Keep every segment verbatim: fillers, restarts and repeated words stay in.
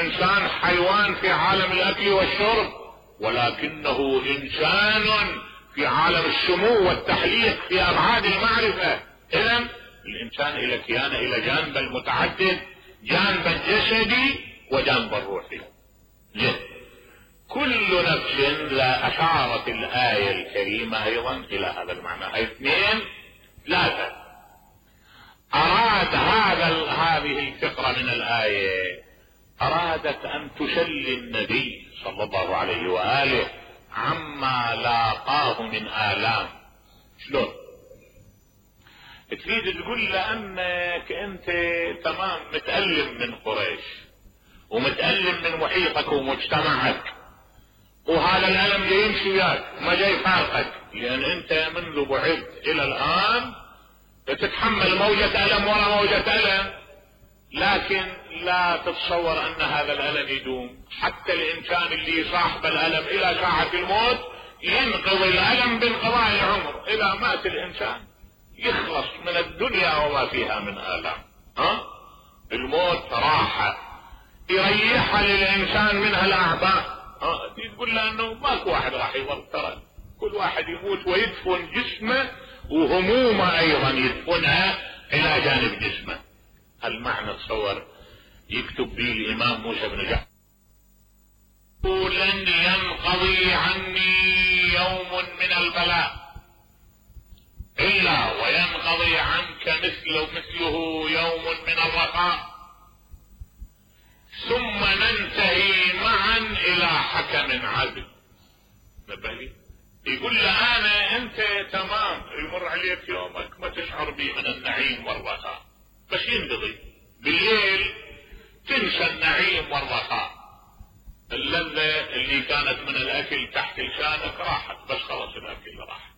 الانسان حيوان في عالم الاكل والشرب، ولكنه انسان في عالم السمو والتحليق في ابعاد المعرفة. اذا الانسان الى كيانه الى جانب المتعدد، جانب الجسدي وجانب الروحي. زين، كل نفس، لا اشارت الاية الكريمة ايضا الى هذا المعنى. هاي اثنين ثلاثة. اراد هذا هذه الفقرة من الاية، ارادت ان تسلي النبي صلى الله عليه واله عما لاقاه من الام. شلون؟ تريد تقول له انك انت تمام متألم من قريش ومتألم من محيطك ومجتمعك، وهذا الالم جاي يمشي وياك ما جاي يفارقك، لان انت منذ بعثت الى الان تتحمل موجة الم ورا موجة الم، لكن لا تتصور ان هذا الالم يدوم. حتى الانسان اللي صاحب الالم الى ساعة الموت ينقضي الالم بانقضاء العمر. اذا مات الانسان يخلص من الدنيا وما فيها من الام. ها؟ الموت راحة يريحها للانسان منها الاعباء. ها؟ تقول له انه ماكو واحد راح يظل، ترى كل واحد يموت ويدفن جسمه وهمومه ايضا يدفنها الى جانب جسمه. المعنى تصور يكتب به الامام موسى بن جعفر: لن ينقضي عني يوم من البلاء الا وينقضي عنك مثله مثله يوم من الرخاء، ثم ننتهي معا الى حكم عدل. نبهلي يقول له انا انت تمام يمر عليك يومك ما تشعر به من النعيم والرخاء، بس ينقضي بالليل تنسى النعيم والرخاء. اللذة اللي كانت من الاكل تحت لسانك راحت، بس خلاص الاكل راحت.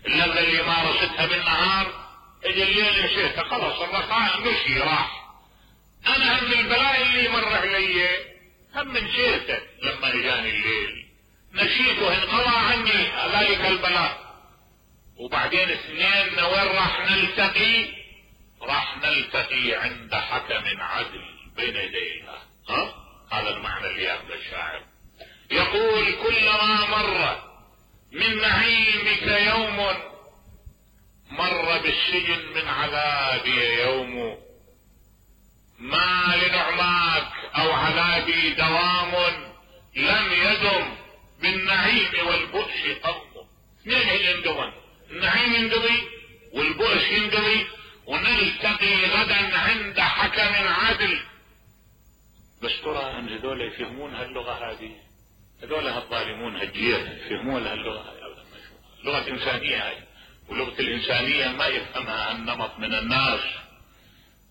اللذة اللي مارستها بالنهار اجى الليل نسيتها، خلاص الرخاء مشي راح. انا هم البلاء اللي مر علي هم نسيته لما اجاني الليل، نسيته انقضى عني ذلك البلاء. وبعدين اثنين وين راح نلتقي؟ راح نلتقي عند حكم عدل بين يديها. ها؟ هذا المعنى اللي ياخذ الشاعر. يقول: كلما مر من نعيمك يوم مر بالسجن من عذابي يوم، ما لنعماك او عذابي دوام لم يدم بالنعيم والبؤس قوم. اثنين يندمن، النعيم ينقضي والبؤس ينقضي، ونلتقي غدا عند حكم عادل. بس ترى ان هذول يفهمون هاللغة هذه؟ هذول هالظالمون هالجير يفهمون هاللغة هذه؟ لغة انسانية هاي، ولغة الانسانية ما يفهمها النمط من الناس.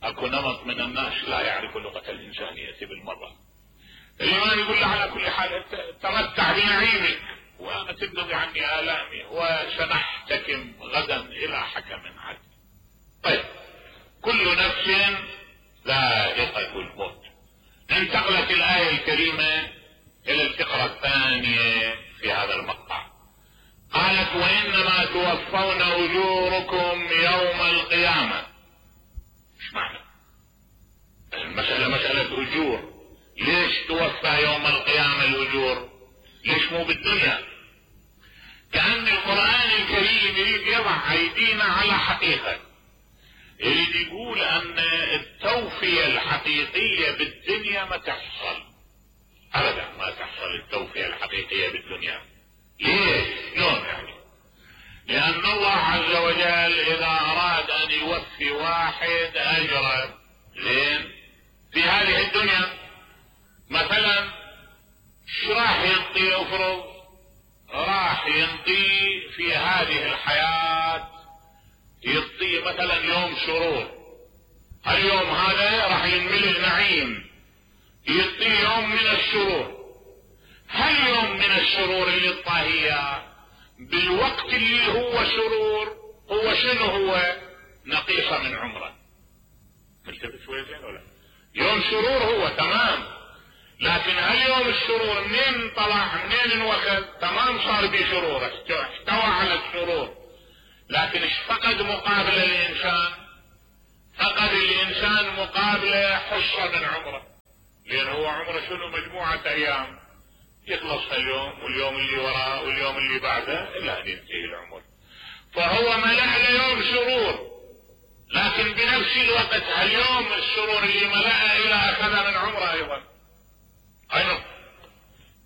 اكو نمط من الناس لا يعرف لغة الانسانية بالمرة. الإيمان يقول له على كل حال تمتع بنعيمك وانا تنقضي عني آلامي وسنحتكم غدا الى حكم عدل. طيب، كل نفس ذائقة الموت. انتقلت الآية الكريمة الى الفقرة الثانية في هذا المقطع. قالت: وانما توفون اجوركم يوم القيامة. ايش معنى المسألة؟ مسألة اجور. ليش توفى يوم القيامة الاجور؟ ليش مو بالدنيا؟ كأن القرآن الكريم يريد يضع ايدينا على حقيقة، يريد يقول ان التوفية الحقيقية بالدنيا ما تحصل ابدا، ما تحصل التوفية الحقيقية بالدنيا. ليش؟ شلون يعني؟ لان الله عز وجل اذا اراد ان يوفي واحد اجره زين في هذه الدنيا، مثلا شو راح ينطي؟ افرض راح ينطي في هذه الحياة، يعطيه مثلا يوم سرور، اليوم هذا راح ينملي النعيم، يعطيه يوم من السرور. هل يوم من السرور اللي الطاهية بالوقت اللي هو سرور هو شنو؟ هو نقيصة من عمره. ملتفت شوية زين ولا؟ يوم سرور هو تمام، لكن هل يوم السرور منين طلع منين انوخذ؟ تمام صار بسرور، احتوى على السرور، لكن ايش فقد مقابل الانسان؟ فقد الانسان مقابله حصة من عمره. لان هو عمره شنو؟ مجموعة ايام، يخلص هاليوم واليوم اللي وراه واليوم اللي بعده الى ان ينتهي العمر. فهو ملأ اليوم سرور، لكن بنفس الوقت هاليوم السرور اللي ملأ الى اخذ من عمره ايضا. ايضا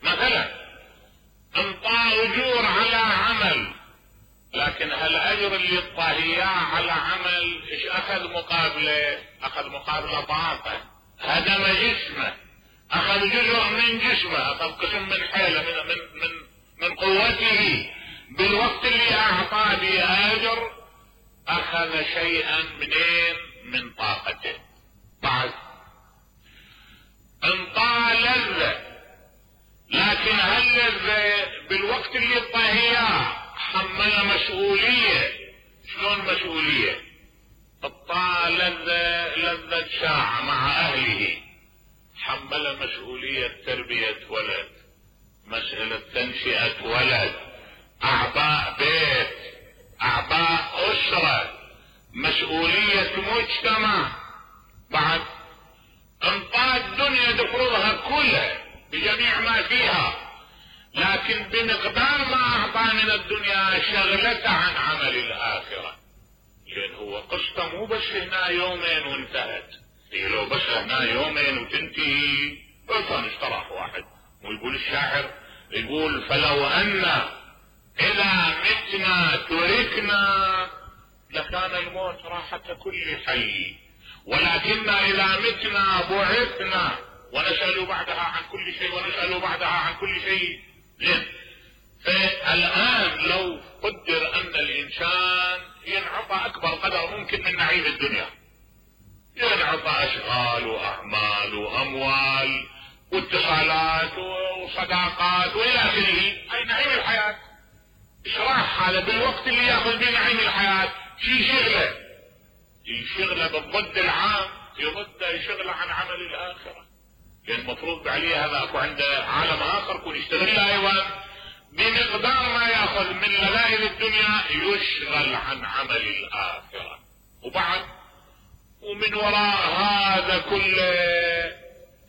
مثلا انطى اجور على عمل، لكن هالاجر اللي انطاه اياه على عمل ايش اخذ مقابله؟ اخذ مقابله طاقه، هدم جسمه، اخذ جزء من جسمه، اخذ قسم من حيله من من من من قوته. بالوقت اللي اعطاه به اجر اخذ شيئا منين؟ من طاقته. بعد انطى لذة، لكن هاللذة بالوقت اللي انطاه اياه حمل مسؤولية. شلون مسؤولية؟ انطى لذة لذة ساعة مع اهله، حمل مسؤولية تربية ولد، مسألة تنشئة ولد، اعباء بيت، اعباء اسرة، مسؤولية مجتمع. بعد انطى الدنيا دفرضها كلها بجميع ما فيها، لكن بمقدار ما اعطى من الدنيا شغلته عن عمل الاخرة. لان هو قصته مو بس هنا يومين وانتهت، هي لو بس هنا يومين وتنتهي كان استراح واحد. ويقول الشاعر، يقول فلو ان اذا متنا تركنا لكان الموت راحة كل حي، ولكن اذا متنا بعثنا ونسأل بعدها عن كل شيء ونسأل بعدها عن كل شيء. زين، فالان لو قدر ان الانسان ينعطى اكبر قدر ممكن من نعيم الدنيا، ينعطى اشغال واعمال واموال واتصالات وصداقات والى اخره، اي نعيم الحياة. ايش راح هذا بالوقت اللي ياخذ بنعيم الحياة؟ شي شغله، يشغله بالضد العام، يرد يشغله عن عمل الاخرة. لان المفروض عليه هذا اكو عنده عالم اخر يكون يشتغل ايضا بمقدار ما ياخذ من لذائذ الدنيا، يشغل عن عمل الاخرة. وبعد ومن وراء هذا كله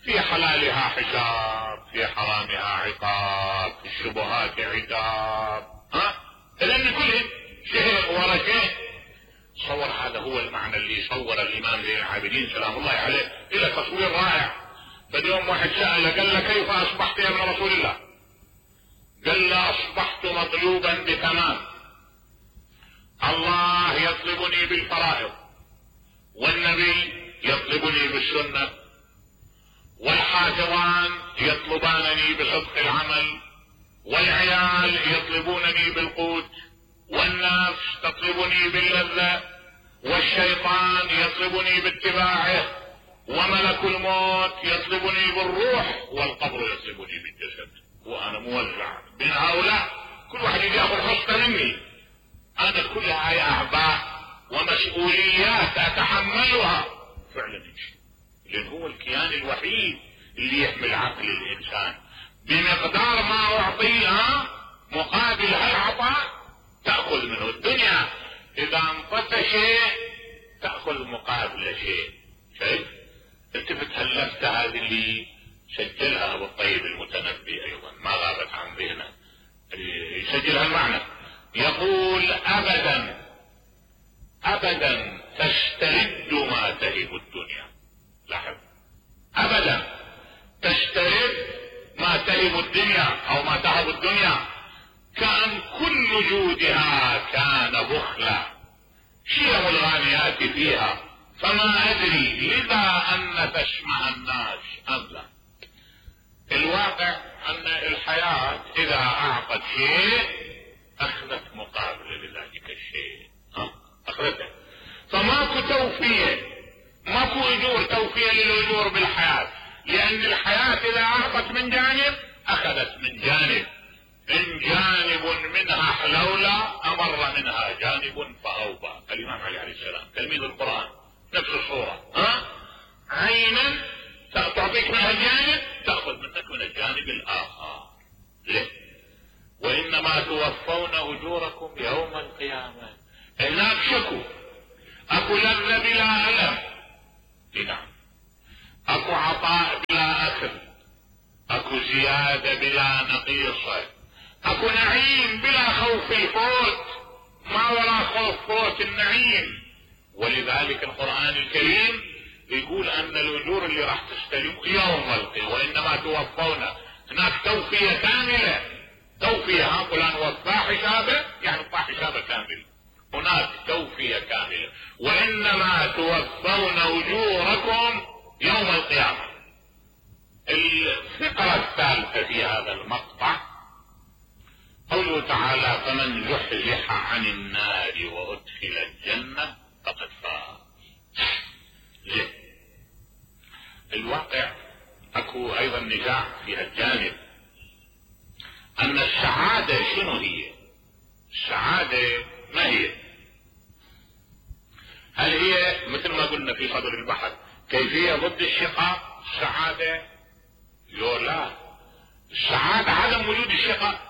في حلالها حساب، في حرامها عقاب، في الشبهات عقاب. ها لان كلهم شيء ورا شيء. صور هذا هو المعنى اللي صور الامام زين العابدين سلام الله عليه الى تصوير رائع. فاليوم واحد سأله قال له كيف اصبحت يا ابن رسول الله؟ قال له اصبحت مطلوبا بتمام، الله يطلبني بالفرائض، والنبي يطلبني بالسنة، والحافظان يطلبانني بصدق العمل، والعيال يطلبونني بالقوت، والنفس تطلبني باللذة، والشيطان يطلبني باتباعه، وملك الموت يطلبني بالروح، والقبر يطلبني بالجسد. وانا موزع بين هؤلاء، كل واحد ياخذ حصة مني. انا كلها هاي اعباء ومسؤوليات اتحملها فعلا، لان هو الكيان الوحيد اللي يحمل عقل الانسان. بمقدار ما اعطيها مقابل هالعطاء تأخذ منه. الدنيا اذا انطت شيء تأخذ مقابل شيء. شايف؟ التفت هاللفتة هذه اللي سجلها ابو الطيب المتنبي ايضا، ما غابت عن ذهنه، يسجلها المعنى. يقول ابدا ابدا تسترد ما تهب الدنيا. لاحظ، ابدا تسترد ما تهب الدنيا او ما تهب الدنيا، كان كل جودها كان بخلا، شيم الغانيات فيها، فما ادري لذا ان تسمع الناس ام لا. الواقع ان الحياة اذا اعطت شيء اخذت مقابل لذلك الشيء، اخذته. فماكو توفية، ماكو اجور توفية للاجور بالحياة، لان الحياة اذا اعطت من جانب اخذت من جانب. ان جانب منها حلولة امر منها جانب فاوبى. الامام علي عليه السلام تلميذ القرآن نفس الصورة. ها عينا تعطيك منها جانب تأخذ منك من الجانب الاخر. ليه؟ وانما توفون اجوركم يوم القيامة. هناك شكو، اكو لذة بلا الم، نعم، اكو عطاء بلا زيادة بلا نقيصة، اكو نعيم بلا خوف الفوت، ما وراء خوف فوت النعيم. ولذلك القرآن الكريم يقول ان الاجور اللي راح تستلم يوم القيامة وانما توفون، هناك توفية كاملة، توفية ها فلان وفى حسابه يعني وفى حسابه كامل، هناك توفية كاملة، وانما توفون اجوركم يوم القيامة. الفقرة الثالثة في هذا المقطع قوله تعالى فمن زحزح عن النار وادخل الجنة فقد فاز. ليه؟ الواقع اكو ايضا نزاع في هالجانب، ان السعادة شنو هي؟ السعادة ما هي؟ هل هي مثل ما قلنا في صدر البحث كيفية ضد الشقاء السعادة؟ لو لا، السعادة عدم وجود الشقاء.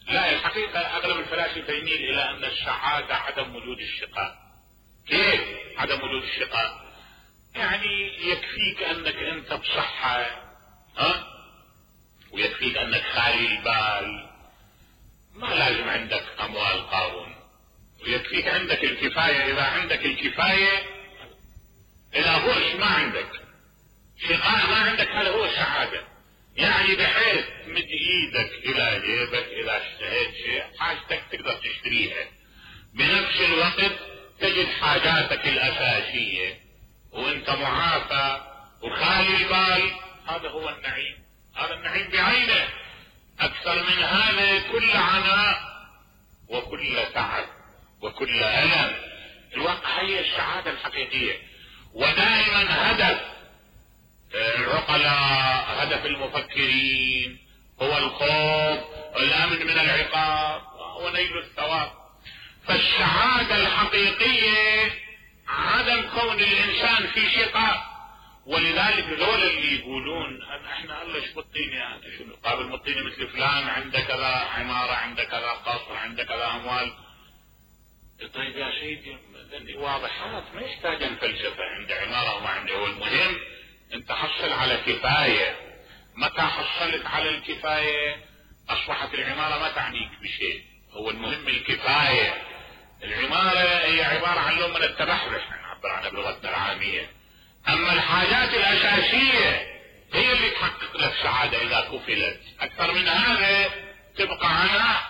لا، الحقيقة اغلب الفلاسفة يميل الى ان السعادة عدم وجود الشقاء. كيف عدم وجود الشقاء؟ يعني يكفيك انك انت بصحة، ها، ويكفيك انك خالي البال، ما لازم عندك اموال قارون، ويكفيك عندك الكفاية. اذا عندك الكفاية، اذا بؤس ما عندك، شقاء ما عندك، هذا هو السعادة. يعني بحيث مد ايدك الى جيبك اذا اشتهيت شيء حاجتك تقدر تشتريها، بنفس الوقت تجد حاجاتك الاساسية وانت معافى وخالي البال، هذا هو النعيم، هذا النعيم بعينه. اكثر من هذا كل عناء وكل تعب وكل الم. الواقع هي السعادة الحقيقية، ودائما هدف العقلاء، هدف المفكرين هو الخوف والامن من العقاب ونيل الثواب. فالسعادة الحقيقية عدم كون الانسان في شقاء. ولذلك ذول اللي يقولون احنا الله ايش بطيني يعني شنو قابل مطيني مثل فلان عنده كذا عمارة، عنده كذا قصر، عنده كذا اموال. طيب يا سيدي واضحات ما يحتاج الفلسفة، عنده عمارة وما عنده. هو المهم انت حصل على كفاية. متى حصلت على الكفاية اصبحت العمارة ما تعنيك بشيء. هو المهم الكفاية. العمارة هي عبارة عن لون من التبحبح نعبر عنها بلغتنا العامية. اما الحاجات الاساسية هي اللي تحقق لك سعادة اذا كفلت. اكثر من هذا تبقى عناء،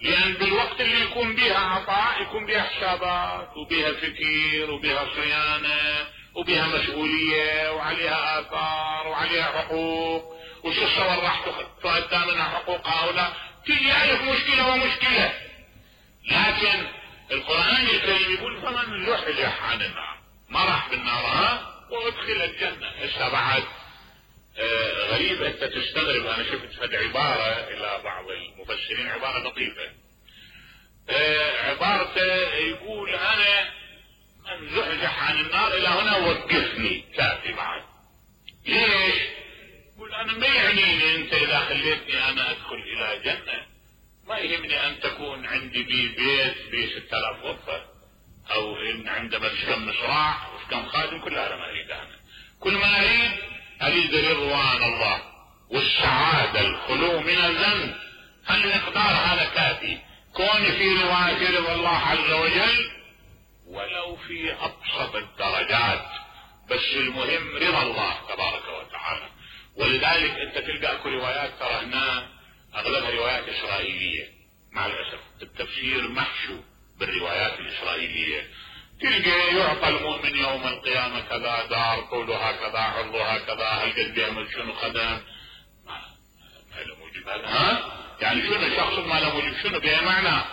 لان بالوقت اللي يكون بها عطاء يكون بها حسابات وبها فكر وبها صيانة وبها مسؤولية وعليها آثار وعليها حقوق، وشو الصور راح تؤدى منها حقوق هؤلاء، تجي ألف مشكلة ومشكلة. لكن القرآن الكريم يقول فمن زحزح عن النار، ما راح بالنار ها وادخل الجنة. هسه بعد آه غريب انت تستغرب. انا شفت هذه عبارة الى بعض المفسرين، عبارة لطيفة. آه عبارته يقول انا من زحزح عن النار الى هنا وقفني كافي بعد. ليش؟ يقول انا ما يعنيني انت اذا خليتني انا ادخل الى جنة، ما يهمني ان تكون عندي بي بيت ب ستة آلاف غرفة او ان عندما كم مصراع وكم خادم، كل هذا ما اريد. انا كل ما اريد اريد رضوان الله والسعادة الخلو من الذنب. هالمقدار هذا كافي. كوني في رواية رضا الله عز وجل ولو في ابسط الدرجات، بس المهم رضا الله تبارك وتعالى. ولذلك انت تلقى اكو روايات ترى هنا اغلبها روايات اسرائيلية، مع الاسف التفسير محشو بالروايات الاسرائيلية. تلقى يعطى المؤمن يوم القيامة كذا دار طولها كذا عرضها كذا، هل قد بيعمل شنو خدم، ما له موجب هذا. ها يعني شنو شخص ما له موجب شنو بمعنى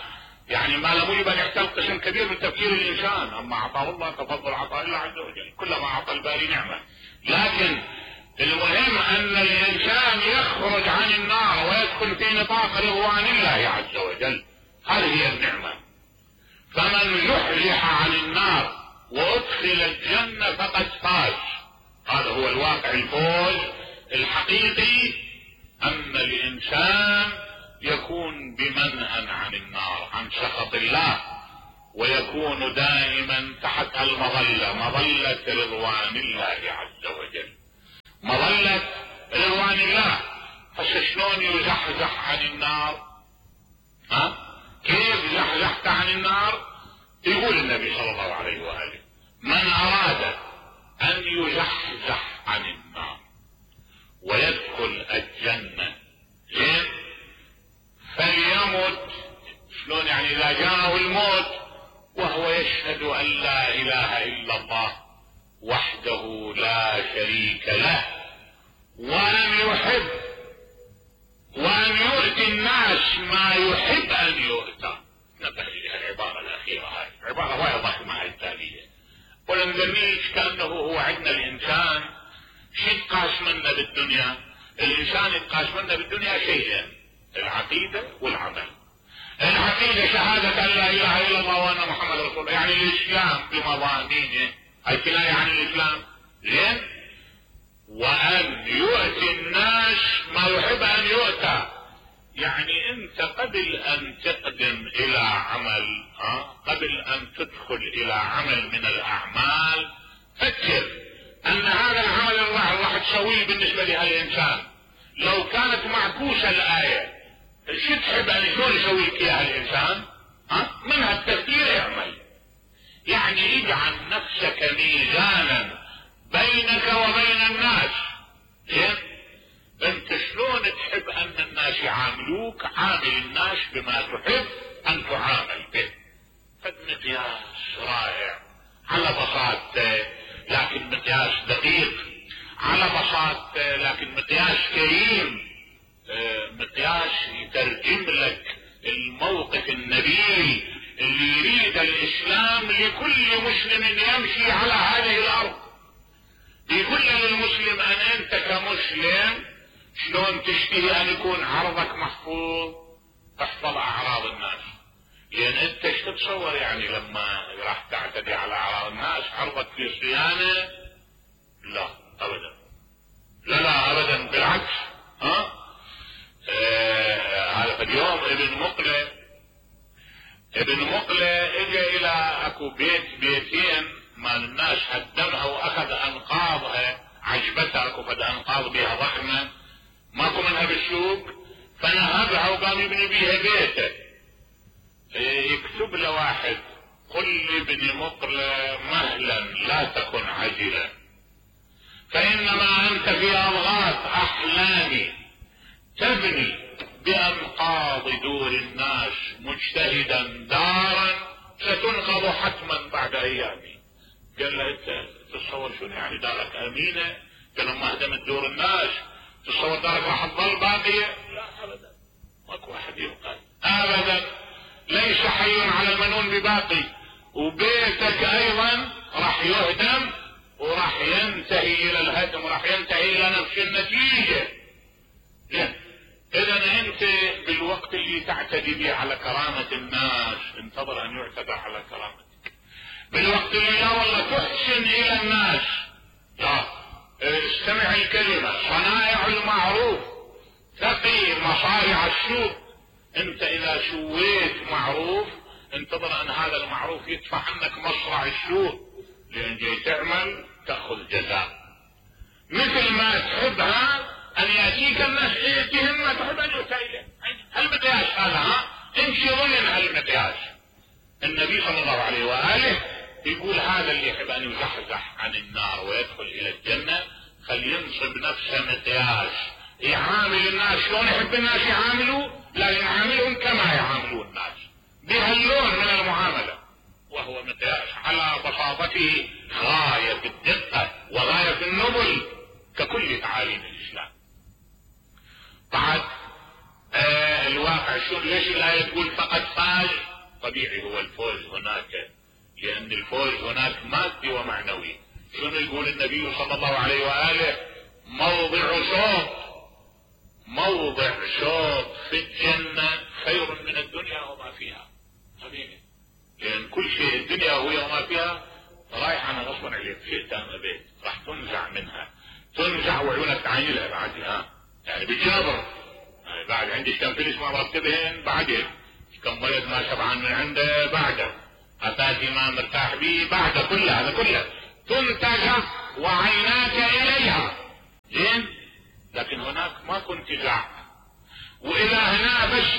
يعني ما له موجب ان يحتل قسم كبير من تفكير الانسان. اما اعطاه الله تفضل عطاء الله عز وجل، كلما اعطى الباري نعمة. لكن المهم ان الانسان يخرج عن النار ويدخل في نطاق رضوان الله عز وجل، هذه هي النعمة. فمن زحزح عن النار وادخل الجنة فقد فاز. هذا هو الواقع. الفوز الحقيقي ان الانسان يكون بمنأى عن النار، عن سخط الله، ويكون دائما تحت المظلة، مظلة رضوان الله عز وجل. مظلة رضوان الله تزحزح عن النار. ها كيف زحزحت عن النار؟ يقول النبي صلى الله عليه وآله: من أراد أن يزحزح عن النار ويدخل الجنة زين فليمت. شلون يعني؟ إذا جاءه الموت وهو يشهد أن لا إله إلا الله وحده لا شريك له، وأن يحب وأن يؤتي الناس ما يحب أن يؤتى. نبه لي العبارة الأخيرة هاي، عبارة وايد ضخمة هاي التالية، ولم نميش كأنه هو عندنا الإنسان شو يتقاس منا بالدنيا. الإنسان يتقاس منا بالدنيا شيئين: العقيدة والعمل. العقيدة شهادة أن لا إله إلا الله وأن محمد رسول الله، يعني الإسلام بمضامينه، هاي كناية عن الإسلام زين. وأن يؤتي الناس ما يحب أن يؤتى، يعني أنت قبل أن تقدم إلى عمل، ها قبل أن تدخل إلى عمل من الأعمال، فكر أن هذا العمل الله راح تسويه بالنسبة لهالإنسان. لو كانت معكوسة الآية شو تحب أن شلون يسوي لك إياها الإنسان؟ ها من هالتفكير اعمل، يعني اجعل نفسك ميزانا بينك وبين الناس. زين انت شلون تحب ان الناس يعاملوك؟ عامل الناس بما تحب ان تعامل به. فالمقياس رائع على بساطته، لكن مقياس دقيق، على بساطته لكن مقياس كريم، مقياس يترجم لك الموقف النبيل اللي يريد الاسلام لكل مسلم يمشي على هذه الارض. يقول للمسلم ان انت كمسلم شلون تشتهي ان يكون عرضك محفوظ؟ تحفظ اعراض الناس. لان انت ايش تتصور يعني لما راح تعتدي على اعراض الناس عرضك في صيانه؟ لا ابدا، لا لا ابدا، بالعكس. ها هذا آه اليوم ابن مقلة ابن مقلة اجى الى اكو بيت بيتين مال الناس هدمها واخذ انقاضها، عجبتها اكو فد انقاض بها ضخمه ماكو منها بالسوق، فنهبها وقام يبني بيها بيته. يكتب له واحد: قل لابن مقلة مهلا لا تكن عجلا، فانما انت في اضغاث احلامي تبني بانقاض دور الناس مجتهدا دارا ستنقض حتما بعد ايام. قال له: انت تتصور شنو يعني دارك امينه؟ قال: لما هدمت دور الناس تتصور دارك راح تظل باقيه؟ لا ابدا، ماكو احد يبقى ابدا، ليس حي على المنون بباقي، وبيتك ايضا راح يهدم وراح ينتهي الى الهدم وراح ينتهي الى نفس النتيجه. اذا انت بالوقت اللي تعتدي به على كرامه الناس انتظر ان يعتدى على كرامتك. بالوقت اللي لا والله تحسن الى الناس، لا استمع الكلمه صنائع المعروف تقي مصارع السوء. انت اذا سويت معروف انتظر ان هذا المعروف يدفع عنك مصرع السوء، لان جاي تعمل تاخذ جزاء. مثل ما تحبها ان ياتيك الناس تهمك تحب ان يؤتى اليه. هالمقياس هذا، ها امشي ضمن هالمقياس. النبي صلى الله عليه واله يقول: هذا اللي يحب ان يزحزح عن النار ويدخل الى الجنه فلينصب نفسه مقياس يعامل الناس شلون يحب الناس يعاملوا، لا يعاملهم كما يعاملون الناس، بهاللون من المعامله، وهو مقياس على بساطته غايه في الدقه وغايه في النبل ككل تعاليم الاسلام. بعد آه الواقع شو ليش الايه تقول فقد فاز؟ طبيعي هو الفوز هناك، لان الفوز هناك مادي ومعنوي. شنو يقول النبي صلى الله عليه واله؟ موضع شوط موضع شوط في الجنه خير من الدنيا وما فيها. طبيعي، لان كل شيء الدنيا وهي وما فيها رايح انا غصبا عليك، شئت ام ابيت راح تنزع منها، تنزع وعيونك تعينها بعد، ها يعني بالجبر. يعني بعد عندي كم فلس ما مرتبهن بعدين، كم ولد ما شبعان من عنده بعده، اتاتي ما مرتاح به بعده، كل هذا كله تنتزع وعيناك اليها. زين، لكن هناك ما كنت تزع. واذا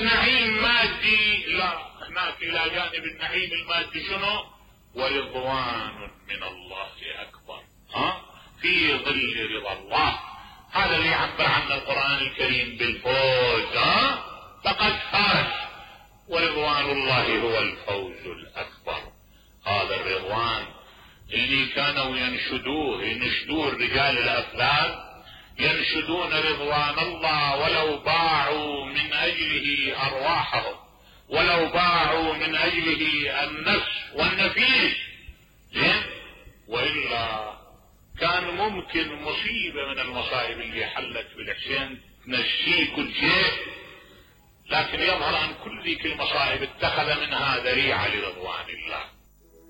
بس نعيم مادي، لا، هناك الى جانب النعيم المادي شنو؟ ورضوان من الله اكبر، ها، في ظل رضا الله. هذا اللي يعبر عنه القرآن الكريم بالفوز، ها، فقد فاز، ورضوان الله هو الفوز الاكبر. هذا الرضوان اللي كانوا ينشدوه ينشدوه الرجال الافذاذ، ينشدون رضوان الله ولو باعوا من اجله ارواحهم، ولو باعوا من اجله النفس والنفيس، زين، والا كان ممكن مصيبة من المصائب اللي حلت بالحسين تنسيه كل شيء، لكن يظهر ان كل ذيك المصائب اتخذ منها ذريعة لرضوان الله.